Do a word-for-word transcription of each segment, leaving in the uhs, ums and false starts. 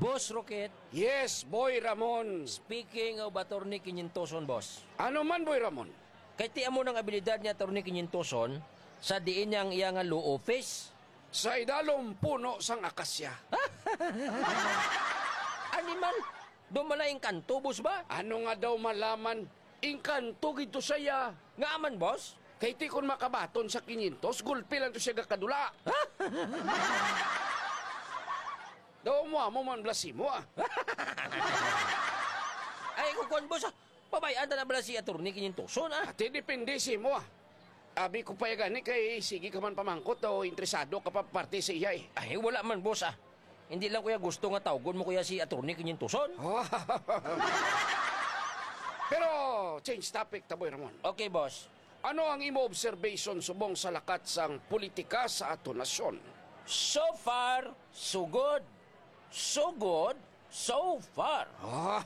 Boss Rocket. Yes, Boy Ramon. Speaking of Attorney Quinientoson, boss. Ano man, Boy Ramon? Kay ti amo nang abilidad ni Attorney Quinientoson sa diin niya ang iya nga law office. Sa idalom puno sang akasya. Animal, do mala engkanto, boss, ba? Ano nga daw malaman? Engkanto gid to siya. Nga man, boss? Kay ti kon makabaton sa quinientos, gulpi lang to siya gakadula. Daw mo amo man blasimo, ah. Ay, kung kuwan, boss, ah, pabay-an ta na bala si Attorney Quinientoson, ah. Ati, depende sa imo, ah. Abi ko pa gani kay sige ka man pamangkot o interesado ka pa parte sa iya, eh. Ay, wala man, boss, ah. Hindi lang, kuya, gusto nga tawgon mo, kuya, si Attorney Quinientoson. Pero, change topic ta, Boy Ramon. Okay, boss. Ano ang imo observation subong sa lakat sang politika sa aton nasyon? So far, so good. So good, so far. Ah.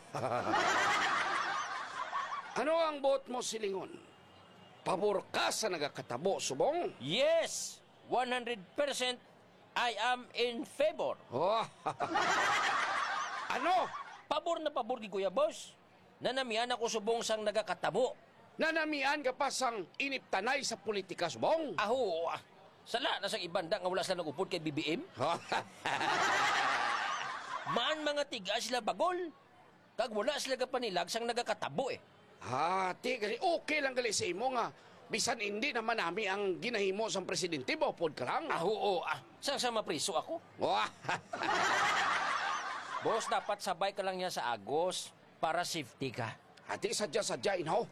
Ano ang buot mo silingon? Pabor ka sa nagakatabo subong? Yes, one hundred percent I am in favor. Oh. Ano? Pabor na pabor gid, kuya, boss. Nanamian ako subong sang nagakatabo. Nanamian ka pa sang iniptanay sa politika subong? Aho, ah. Sala na sang ibanda nga wala sila nag-upod kay B B M. Man, mga tiga sila bagol. Kag wala sila gapanilag sang nagakatabo, eh. Ah, ti, gali, okay lang gali sa imo nga bisan hindi naman nami ang ginahimo sang presidente, maupod ka lang. Ah, oo, ah. Sang sa mapriso ako? Wah. Boss, dapat sabay ka lang niya sa agos para safety ka. Ati, sadya-sadya, inaw.